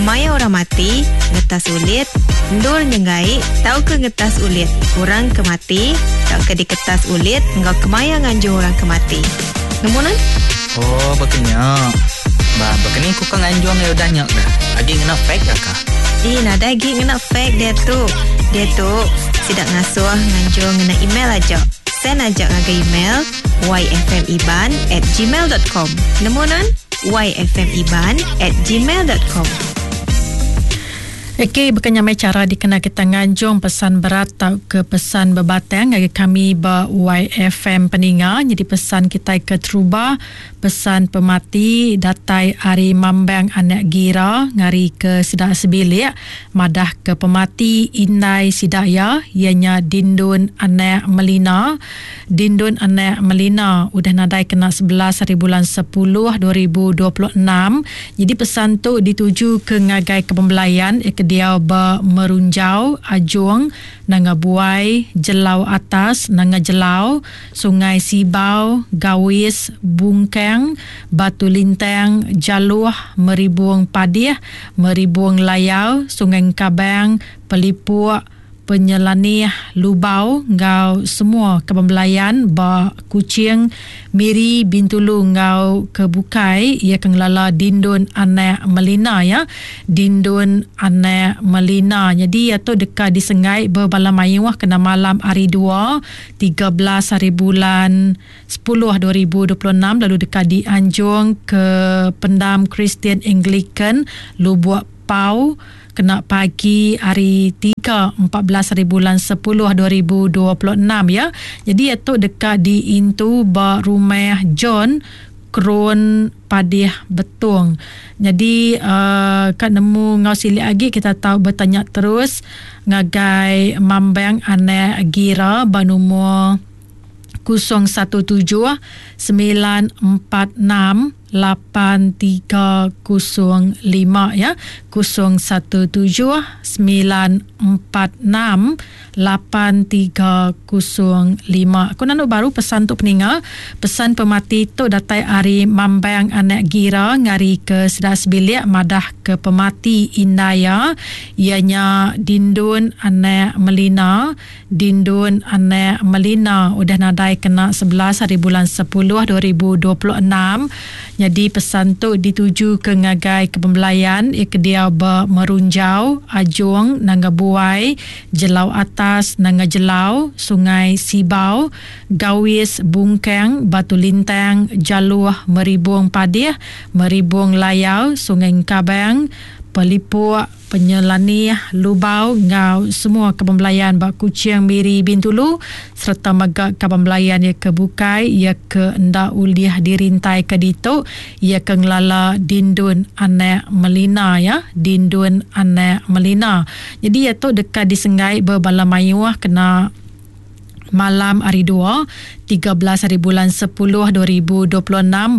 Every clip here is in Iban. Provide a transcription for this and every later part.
Maya orang mati, ngetas ulit, endur nyenggai tauka ngetas ulit orang ke mati tauka diketas ulit enggau kemaya nganjung orang ke mati. Nemu nuan? Oh, baka nya. Ba, baka ni ku ka nganjung iya udah nya kah? Agi ngena fax ka kah? Ih, nadai agi ngena fax diatu. Diatu, sida ngasuh nganjung ngena email aja. Send aja ngagai email yfmiban at gmail dot com. Nemu nuan? yfmiban at gmail dot com. Okey, baka nya meh chara dikena kita nganjung pesan berat tauka pesan bebatang ngagai kami ba YFM Peninga. Nyadi pesan kitai ke terubah, pesan pemati datai ari Mambang Anak Gira ngari ke sida sebilik madah ke pemati indai sida iya, iya nya Dindun Anak Melina. Dindun anak Melina udah nadai kena 11 haribulan sepuluh 2026. Nyadi pesan tu dituju ke ngagai kepembelayan iya ke diau ba Merunjau, Ajung, Nanga Buai, Jelau Atas, Nanga Jelau, Sungai Sibau, Gawis, Bungkang, Batu Lintang, Jaloh, Meribung Padih, Meribung Layar, Sungai Engkabang, Pelipuk, Penyelanih Lubau enggau semua kaban belayan ba Kuching, Miri, Bintulu enggau ke bukai iya ke ngelala Dindun anak Melina iya. Dindun anak Melina. Nyadi iya tu deka disenggai bebala mayuh kena malam hari dua, 13 hari bulan sepuluh 2026 lalu deka dianjung ke Pendam Kristian Anglican Lubuk Pau kena pagi hari tiga 14 hari bulan 10 2026 ya. Jadi iya tu deka diintu ba rumah John Krun Padih Betong. Jadi uh, ka nemu enggau silik agi kita tau betanya terus ngagai Mambang Anak Gira ba numur 017 946 8305 ya 017 946 8305. Aku nanu baru pesan tu peninga. Pesan pemati tu datai ari Mambang Anak Gira ngari ke sida sebilik madah ke pemati indai iya iya nya Dindun Anak Melina. Dindun anak Melina udah nadai kena 11 hari bulan 10 2026. Nyadi pesan tu ditujuka ngagai kepembelayan iya ke diau ba Merunjau, Ajung, Nanga Buai, Jelau Atas, Nanga Jelau, Sungai Sibau, Gawis, Bungkang, Batu Lintang, Jaluh, Meribung Padih, Meribung Layar, Sungai Engkabang, Pelipuk, Penyelanih, Lubau enggau semua kaban belayan ba Kuching, Miri, Bintulu sereta mega kaban belayan iya ke bukai iya ke enda ulih dirintaika ditu iya ke ngelala Dindun anak Melina iya Dindun anak Melina. Nyadi iya tu deka disenggai bebala mayuh kena malam hari dua, 13 hari bulan 10 2026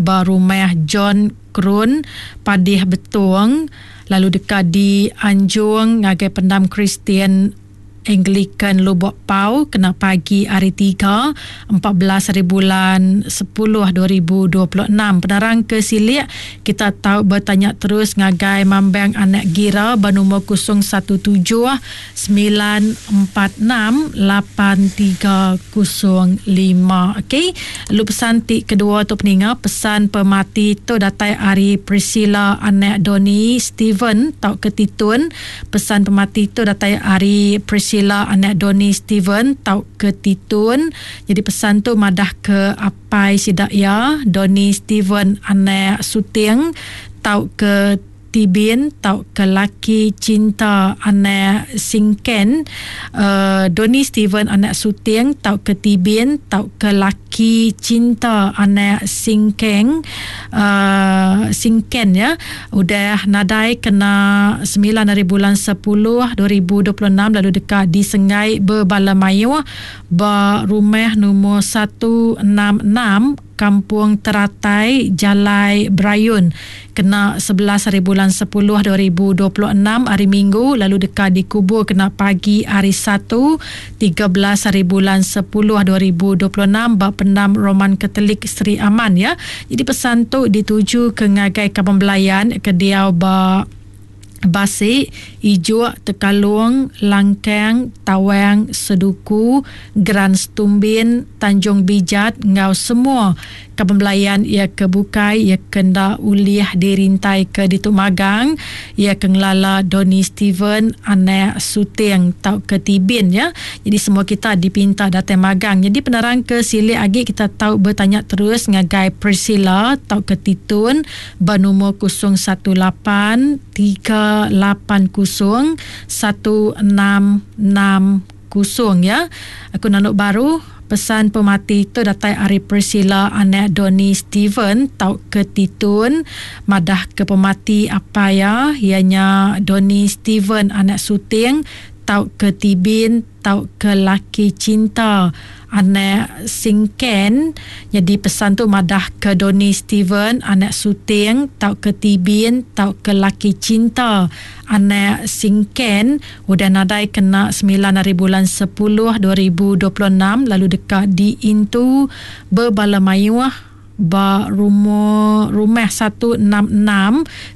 ba Rumah John Krun, Padih Betong lalu deka dianjung ngagai Pendam Kristian Anglican Lubok Pau kena pagi hari Tiga, 14 hari bulan 10 2026. Penerang ke silik kita tau betanya terus ngagai Mambang Anak Gira ba numur 017 946 8305. Okey. Lalu pesan ti kedua tu peninga, pesan pemati tu datai ari Priscilla anak Donny Steven tauka Titun. Pesan pemati tu datai ari Priscilla anak Donny Steven tauka Titun. Jadi pesan tu madah ke apai sida iya Donny Steven anak Suting tauka Tibin tauka laki cinta anak Singken, Donny Steven anak Suting tauka Tibin tauka laki cinta anak Singkeng, Singken ya, udah nadai kena 9 ari bulan 10 2026 lalu deka disenggai bebala mayuh ba rumah numur 166 Kampung Teratai, Jalai Brayun kena 11 hari bulan 10 2026 hari Minggu lalu deka dikubur kena pagi hari Satu 13 hari bulan 10 2026 ba Pendam Roman Katolik Sri Aman ya. Jadi pesan tu dituju ke ngagai kaban belayan ke diau ba. Basi, Ijuk, Tekalung, Langkang, Tawang, Seduku, Geran Setumbin, Tanjung Bijat enggau semua kaban belayan iya ke bukai iya ke enda ulih dirintaika ditu magang iya ke ngelala Donny Steven anak Suting tauka Tibin ya. Jadi semua kita dipinta datai magang. Jadi penerang ke silik agi kita tau betanya terus ngagai Priscilla tauka Titun ba numur 018 380 1660 ya. Aku nandu baru pesan pemati tu datai ari Priscilla anak Donny Steven tauka Titun madah ke pemati apai iya iya nya Donny Steven anak Suting tauka Tibin tauka laki cinta anak Singken. Nyadi pesan tu madah ke Donny Steven anak Suting tauka Tibin tauka laki cinta anak Singken udah nadai kena semilan ari bulan sepuluh 2026 lalu deka diintu bebala mayuh ba rumur rumah 166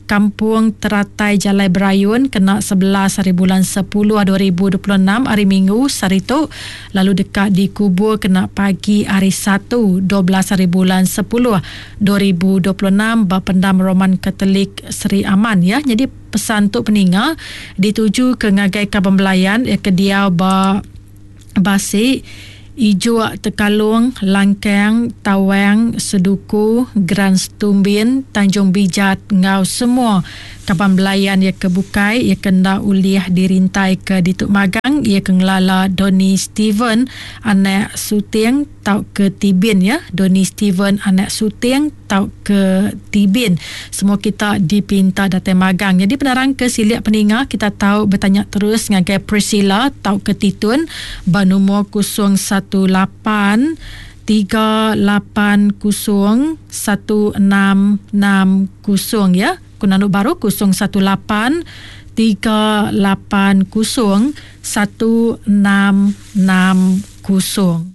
Kampung Teratai Jalai Berayun kena 11 hari bulan 10 2026 hari Minggu sehari tu lalu deka dikubur kena pagi hari Satu 12 hari bulan 10 2026 ba Pendam Roman Katolik Sri Aman ya. Nyadi pesan tu peninga dituju ke ngagai kaban belayan ya ke diau ba Basi, Ijuk, Tekalung, Langkang, Tawang, Seduku, Geran Setumbin, Tanjung Bijat enggau semua kaban belayan iya ke bukai iya ke enda ulih dirintaika ditu magang iya ke ngelala Donny Steven anak Suting tauka Tibin ya Donny Steven anak Suting tauka Tibin. Semua kita dipinta datai magang. Nyadi penerang ke silik peninga kita tau betanya terus ngagai Priscilla tauka Titun ba numur 018 380 1660 ya. Ku nandu baru 018 380 1660.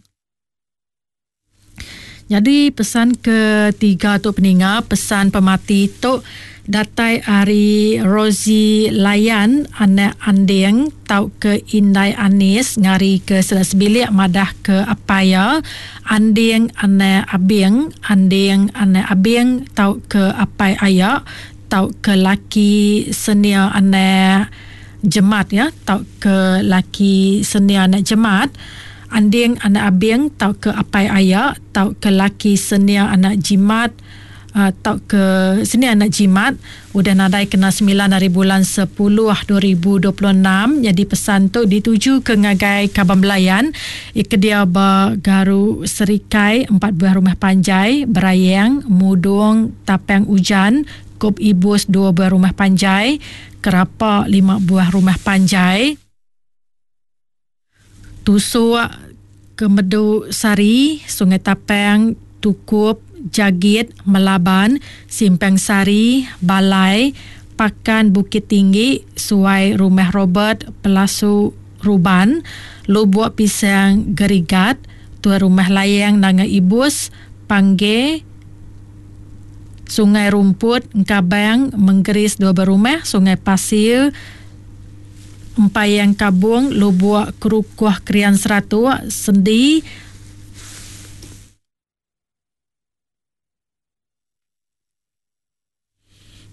Nyadi pesan ketiga tu peninga, pesan pemati tu datai ari Rosie Layan anak Anding tauka Indai Anis ngari ke sida sebilik madah ke apai iya Anding anak Abing, Anding anak Abing tauka apai aya tauka laki senia anak Jemat ya tauka laki senia anak Jemat. Anding anak Abing tauka apai aya tauka laki senia anak Jimat tauka senia anak Jimat udah nadai kena semilan ari bulan sepuluh 2026 nyadi pesan tu ditujuka ngagai kaban belayan ke diau ba Garu Serikai empat buah rumah panjai Berayang Mudong Tapang Ujan Kop Ibus dua buah rumah panjai Kerapa lima buah rumah panjai. Tusuk, Kemedu Sari, Sungai Tapang, Tukup, Jagit, Melaban, Simpang Sari, Balai, Pakan Bukit Tinggi, Suai Rumah Robert, Pelasu Ruban, Lubuk Pisang Gerigat, Tuai Rumah Layang Nanga Ibus, Pangge, Sungai Rumput, Engkabang, Menggeris Dua Berumah, Sungai Pasir, Empayang Kabung, Lubuk Kerukuh Krian Seratuk, Sendi,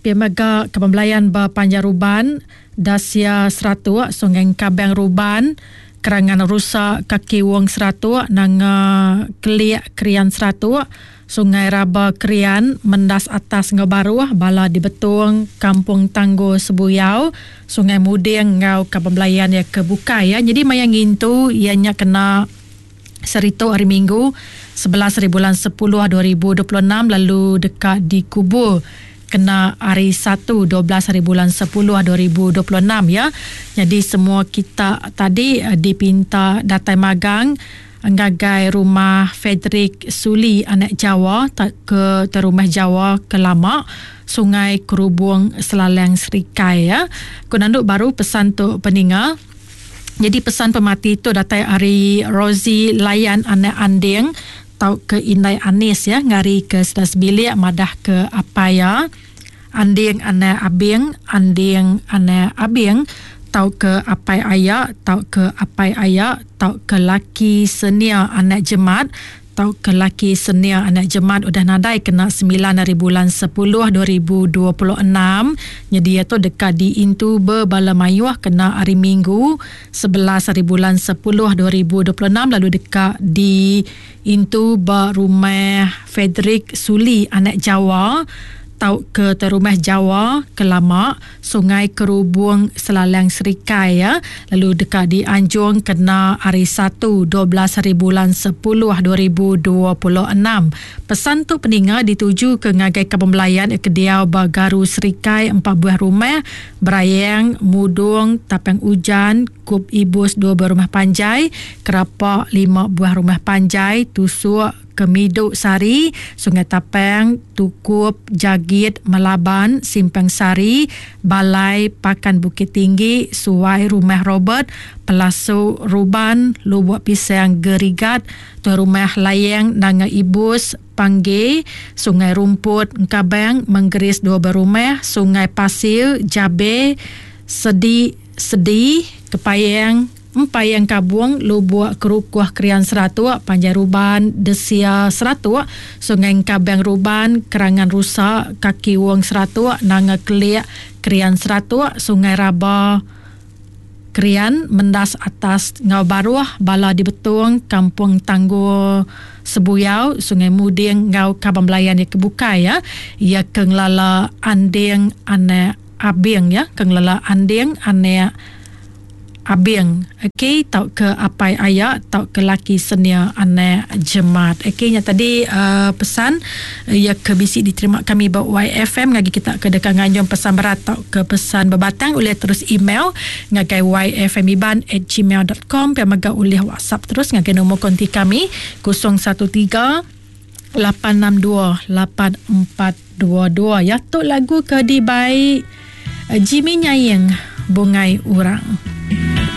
Pia mega Kaban Belayan ba Panjang Ruban, Dasia Seratuk, Sungai Engkabang Ruban, Kerangan Rusa Kaki Wong Seratuk, Nanga Kelik Krian Seratuk, Sungai Raba Krian, Mendas Atas enggau Baruh, bala di Betong, Kampung Tanggul Sebuyau, Sungai Muding enggau kaban belayan iya ke bukai iya. Nyadi maya ngintu iya nya kena sehari tu hari Minggu 11 hari bulan 10 2026 lalu deka dikubur kena hari Satu 12 hari bulan 10 2026 ya. Nyadi semua kita tadi dipinta datai magang ngagai rumah Frederick Suli anak Jawa tauka Rumah Jawa ke lama Sungai Kerubung Selalang Serikai ya. Ku nandu baru pesan tu peninga. Jadi pesan pemati tu datai ari Rosie Layan anak Anding tauka Indai Anis ya ngari ke sida sebilik madah ke apai iya. Anding anak Abing, Anding anak Abing tauka apai aya tauka apai aya tauka laki senia anak Jemat tauka laki senia anak Jemat udah nadai kena semilan ari bulan sepuluh 2026 nyadi iya tu deka diintu bebala mayuh kena hari Minggu 11 ari bulan sepuluh 2026 lalu deka diintu ba rumah Frederick Suli anak Jawa tauka Rumah Jawa ke lama Sungai Kerubung Selalang Serikai ya lalu deka dianjung kena hari Satu 12 hari bulan 10 2026. Pesan tu peninga dituju ke ngagai kaban belayan ke diau ba Garu Serikai empat buah rumah Berayang, Mudung, Tapang Ujan, Kup Ibus dua buah rumah panjai, Kerapa lima buah rumah panjai, Tusuk, Kemidu Sari, Sungai Tapang, Tukup, Jagit, Melaban, Simpang Sari, Balai, Pakan Bukit Tinggi, Suai Rumah Robert, Pelasu Ruban, Lubuk Pisang Gerigat, Tuai Rumah Layeng Nanga Ibus, Pangge, Sungai Rumput, Engkabang, Menggeris Dua Berumah, Sungai Pasir, Jabe, Sedi, Sedi, Kepayang, Empayang Kabung, Lubuk Kerukuh Krian Seratuk, Panjai Ruban, Desia Seratuk, Sungai Engkabang Ruban, Kerangan Rusa, Kaki Wong Seratuk, Nanga Kelik, Krian Seratuk, Sungai Raba, Krian, Mendas Atas enggau Baruh, Bala di Betong, Kampung Tanggul Sebuyau, Sungai Muding enggau kaban belayan iya ke bukai iya. Iya ke ngelala Anding anak Abing iya ke ngelala Anding anak Abing ok tauka apai aya tauka laki senia anak jemat. Ok nya tadi uh, pesan ya ke bisi diterima kami ba YFM ngagi kita ke deka nganjung pesan berat tauka pesan bebatang ulih terus email ngagai yfmiban@gmail.com pia mega ulih WhatsApp terus ngagai nombor konti kami 013 862 8422 ya tu lagu ke dibai Jimmy Nyaing Bungai Urang.